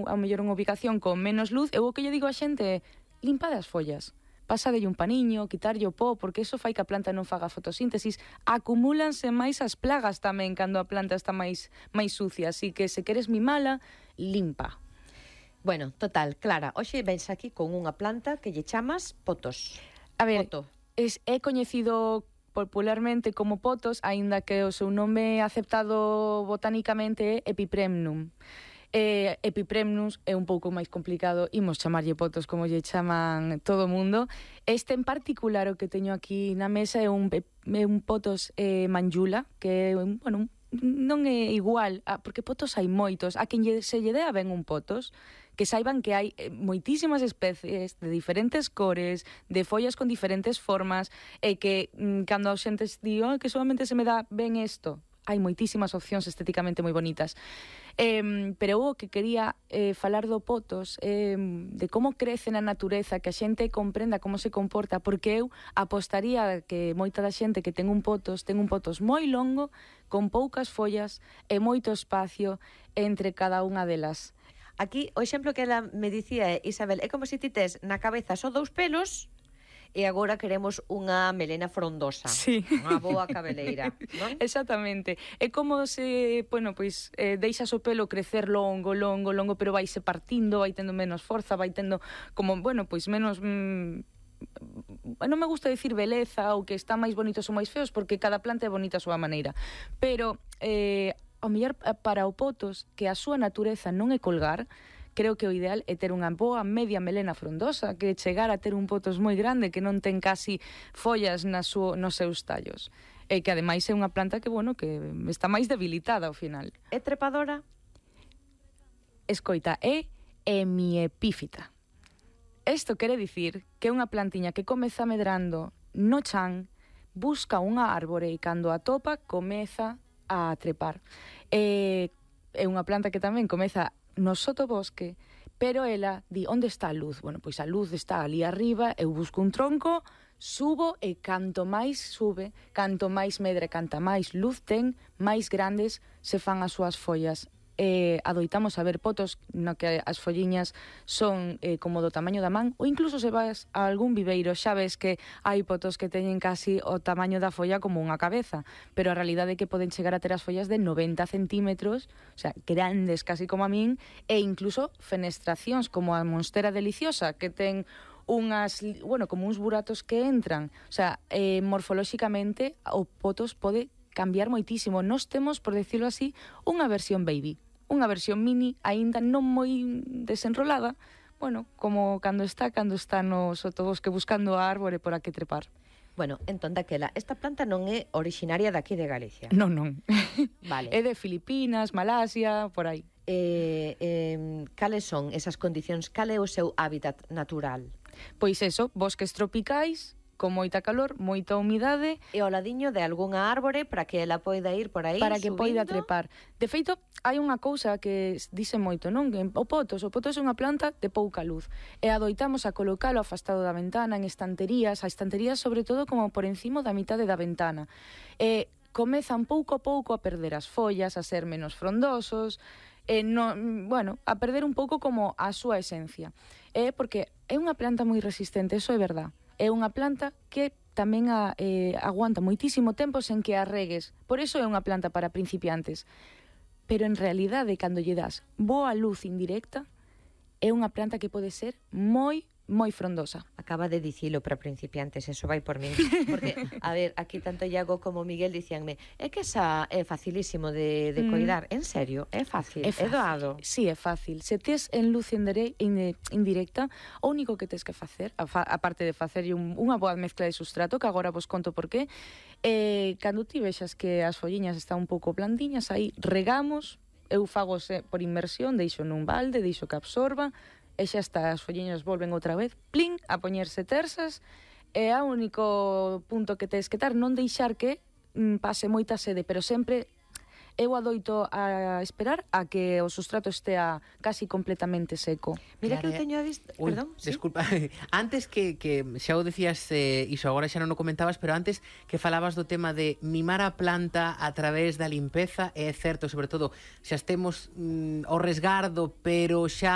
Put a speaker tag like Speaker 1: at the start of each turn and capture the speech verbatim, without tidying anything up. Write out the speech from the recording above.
Speaker 1: a mellor unha ubicación con menos luz, eu o que lle digo a xente é limpa das follas. Pasadelle un paniño, quitarlle o pó, porque eso fai que a planta non faga fotosíntesis. Acumúlanse máis as plagas tamén cando a planta está máis máis sucia, así que se queres mimala, limpa.
Speaker 2: Bueno, total, Clara, hoxe vens aquí con unha planta que lle chamas potos.
Speaker 1: A ver,
Speaker 2: Poto.
Speaker 1: es, é coñecido popularmente como potos, aínda que o seu nome aceptado botánicamente é Epipremnum. Eh, Epipremnus é un pouco máis complicado, imos chamarlle potos como lle chaman todo o mundo. Este en particular o que teño aquí na mesa é un, é un potos eh, manjula, que é, bueno, non é igual, a, porque potos hai moitos, a quen lle, se lle dea ben un potos, que saiban que hai moitísimas especies de diferentes cores, de follas con diferentes formas, e que mm, cando a xente di, oh, que solamente se me dá ben isto, hai moitísimas opcións estéticamente moi bonitas. Eh, pero o que quería eh, falar do potos, eh, de como crece na natureza, que a xente comprenda como se comporta, porque eu apostaría que moita da xente que ten un potos, ten un potos moi longo, con poucas follas e moito espacio entre cada unha delas.
Speaker 2: Aquí, o exemplo que ela me dicía é, Isabel, é como se ti tes na cabeza só dous pelos e agora queremos unha melena frondosa,
Speaker 1: sí.
Speaker 2: Unha boa cabeleira, non?
Speaker 1: Exactamente. É como se, bueno, pois, eh, deixas o pelo crecer longo, longo, longo, pero vai se partindo, vai tendo menos forza, vai tendo como, bueno, pois menos... Mm, non me gusta dicir beleza ou que están máis bonitos ou máis feos, porque cada planta é bonita a súa maneira. Pero, eh, ao mellor para o potos, que a súa natureza non é colgar, creo que o ideal é ter unha boa media melena frondosa, que chegar a ter un potos moi grande que non ten casi follas na súa, nos seus tallos. E que ademais é unha planta que, bueno, que está máis debilitada ao final.
Speaker 2: É trepadora?
Speaker 1: Escoita, é hemiepífita. Isto quere dicir que é unha plantiña que comeza medrando no chan, busca unha árbore e cando a topa comeza a trepar. É, é unha planta que tamén comeza no sotobosque, pero ela di, onde está a luz? Bueno, pois a luz está ali arriba, eu busco un tronco, subo e canto máis sube, canto máis medre, canta máis luz ten, máis grandes se fan as súas follas. Eh, adoitamos a ver potos no que as folliñas son eh, como do tamaño da man, ou incluso se vas a algún viveiro, xa ves que hai potos que teñen casi o tamaño da folla como unha cabeza, pero a realidade é que poden chegar a ter as follas de noventa centímetros, o sea, grandes casi como a min, e incluso fenestracións como a monstera deliciosa, que ten unhas, bueno, como uns buratos que entran, o sea, eh, morfolóxicamente o potos pode cambiar moitísimo. Nos temos, por decirlo así, unha versión baby, unha versión mini, aínda non moi desenrolada, bueno, como cando está, cando está no sotobosque buscando a árbore por a que trepar.
Speaker 2: Bueno, entón daquela, esta planta non é originaria daqui de Galicia.
Speaker 1: Non, non.
Speaker 2: Vale.
Speaker 1: É de Filipinas, Malasia, por aí.
Speaker 2: Eh, eh, cales son esas condicións? Cal é o seu hábitat natural?
Speaker 1: Pois eso, bosques tropicais, con moita calor, moita humidade
Speaker 2: e ao ladiño de algunha árbore para que ela poida ir por aí
Speaker 1: para que
Speaker 2: subindo.
Speaker 1: poida trepar. De feito, hai unha cousa que dice moito, non? Que o potos, o potos é unha planta de pouca luz e adoitamos a colocalo afastado da ventana, en estanterías, a estanterías sobre todo como por encima da mitade da ventana. E comezan pouco a pouco a perder as follas, a ser menos frondosos, e no, bueno, a perder un pouco como a súa esencia. É porque é unha planta moi resistente, eso é verdad. É unha planta que tamén a, eh, aguanta moitísimo tempo sen que a regues. Por iso é unha planta para principiantes. Pero en realidade, cando lle das boa luz indirecta, é unha planta que pode ser moi, moi frondosa.
Speaker 2: Acaba de dicilo para principiantes, eso vai por min. Porque, a ver, aquí tanto Iago como Miguel dicíanme, é que esa é facilísimo de, de mm. coidar. En serio, é fácil, é, fácil. É doado.
Speaker 1: Sí, é fácil. Se tes en luz indirecta, o único que tes que facer, aparte de facer un, unha boa mezcla de sustrato, que agora vos conto por qué, eh, cando ti vexas que as folliñas están un pouco blandiñas, aí regamos, eu fago por inmersión, deixo nun balde, deixo que absorba, e xa está, as folliñas volven outra vez, plin, a poñerse tersas, e o único punto que tes que dar, non deixar que mm, pase moita sede, pero sempre eu adoito a esperar a que o sustrato estea casi completamente seco.
Speaker 2: Mira, claro, que eu teño a vista...
Speaker 3: Uy,
Speaker 2: perdón, ¿sí?
Speaker 3: Desculpa, antes que, que xa o decías, eh, iso agora xa non o comentabas, pero antes que falabas do tema de mimar a planta a través da limpeza, é certo, sobre todo, xa estemos mm, ao resgardo, pero xa